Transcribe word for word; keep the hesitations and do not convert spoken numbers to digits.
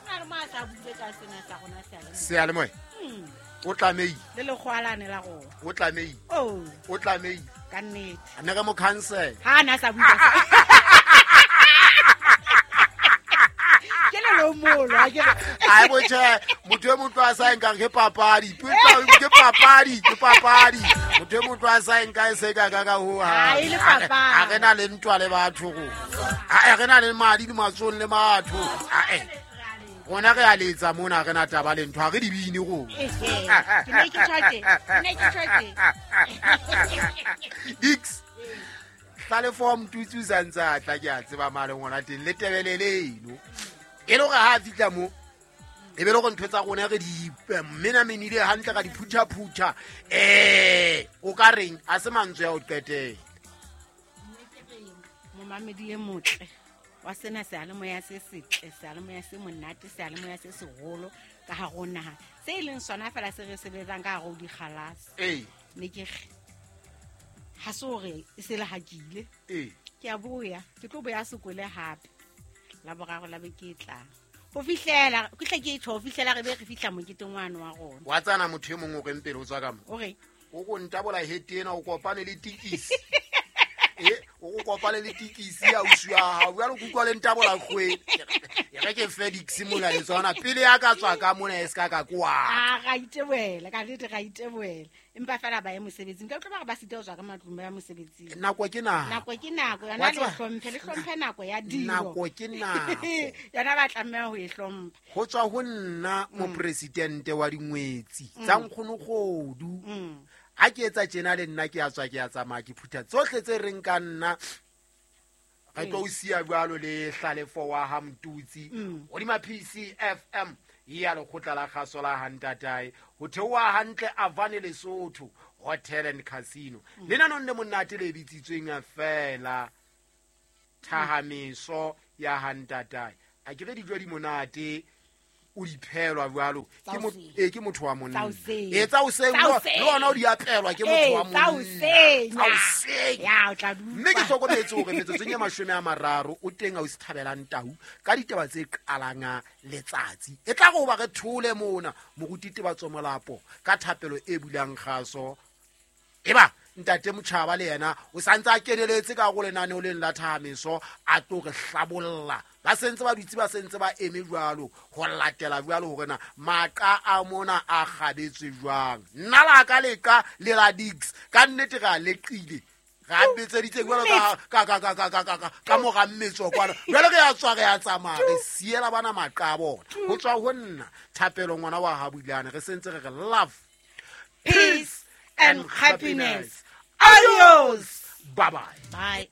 na le mo a sa buile ka sena sa rona seyalemoya. Seyalemoya? Mm. O tlamehile. Le lekgoalane la rona. O tlamehile. Oh. O tlamehile. Ka nnete. A ne re mo cancel. Ha na sa buile. Ke le lomolo, ha ke re. Ai bo tjhe, motho e motho a sa nkang ke papadi. Ke papadi, ke papadi. Motho e motho a sa nka e se ka ka ka ho ha. Ha e le papadi. Ha re na le ntwa le batho go. Ha re na le madi di matsong le batho. Ha eh. Rona re a letsa mona re na taba le ntho ha re di bine go. Ke ne ke tjho ke ne ke tjho ke. Dix. Hlalefo Mtutsi o santse a tla ke a tseba male ngwana teng le tebelele eno. E le hore ha a fihla mo e be le hore ntho tsa rona re di menamenile hantle ka di phutha-phutha. Eh, o ka reng a se mantswe a ho qetela. Momamedi e motle wa sena seyalemoya se setle, seyalemoya se monate, seyalemoya se seholo ka hare ho naha. Se e leng sona fela se re sebetsang ka hare ho dikgalase. Ee. Ne ke re ha se hore e se le hakile. Ee. Ke a boya, ke tlo boya sekole hape. La boraro la beke e tlang. Ho fihlela, ke hle ke tjho, ho fihlela re be re fihla moketeng wane wa rona. Wa tsana motho e mong o reng pele o tswa ka mo? O reng? O go ntabola hete ena o kopane le tikisi. Eh, o go kopane le tikisi ya ausi wa hao. Jwale ke utlwa le ntabola kgwedi. E re ke Felix mona le tsona pele ya ka tswa ka mona e ska ka kwa. Ah, ra itebohela, ka nnete ra itebohela. Empa fela ba ye mosebetsing. Ka utlwa ba re ba sita ho tswa ka matlung ba ya mosebetsing. Nako ke nako. Nako ke nako, yona Wa le tseba? hlomphe, le hlomphe nako ya dilo. Nako ke nako. Yona ba tlameha ho e hlompha. Ho tswa ho nna Mm. mopresidente wa dingwetsi Mm. tsa Nkgonokgodu. Mm. Ha ke etsa tjena le nna ke a tswa ke a tsamaya ke phutha tsohle tse reng ka nna. Re tlo o siya jwalo le Hlalefo wa ha Mtutsi. Mm. Hodima P C F M ya lekgotla la kgaso la ha ntatae. Ho theoha hantle Avane Lesotho Hotel and Casino. Mm. Lenanong le monate le bitsitsweng feela thahameso ya ha ntatae. A ke re dijo di monate o di phelwa jwalo. Tsa Ke mo- hoseng. eh, ke motho wa monna. Tsa hoseng. Eh, tsa hoseng, Tsa le hoseng. le ona o di apelwa ke motho Eh, wa tsa monna. hoseng. Tsa hoseng. Ya, o tla di Mme ke utlwa. hlokometse hore metsotsong e mashome a mararo o teng ausi Thabelang Tau ka ditaba tse qalang letsatsi. E tla re hoba re thole mona moruti Tebatso Molapo ka thapelo e bulang kgaso. Eba ntate Motjhaba le yena o santse a keneletse ka go lenaneo leng la thahameso a tlo re hlabolla. Ba sentse ba dutse ba sentse ba eme jwalo ho latela jwalo hore na maqa a mona a kgabetswe jwang. Nna la ka leqa le la Dix ka nnete re a leqile. Re a betseditse jwalo ka, ka, ka, ka, ka, ka, ka, ka, ka mora mmetso kwana. Jwale re a tswa re a tsamaya re siela bana maqa a bona. Ho tswa ho nna Thapelo ngwana wa ha Bulane re sentse re re love, peace and happiness. Adios. Bye bye. Bye.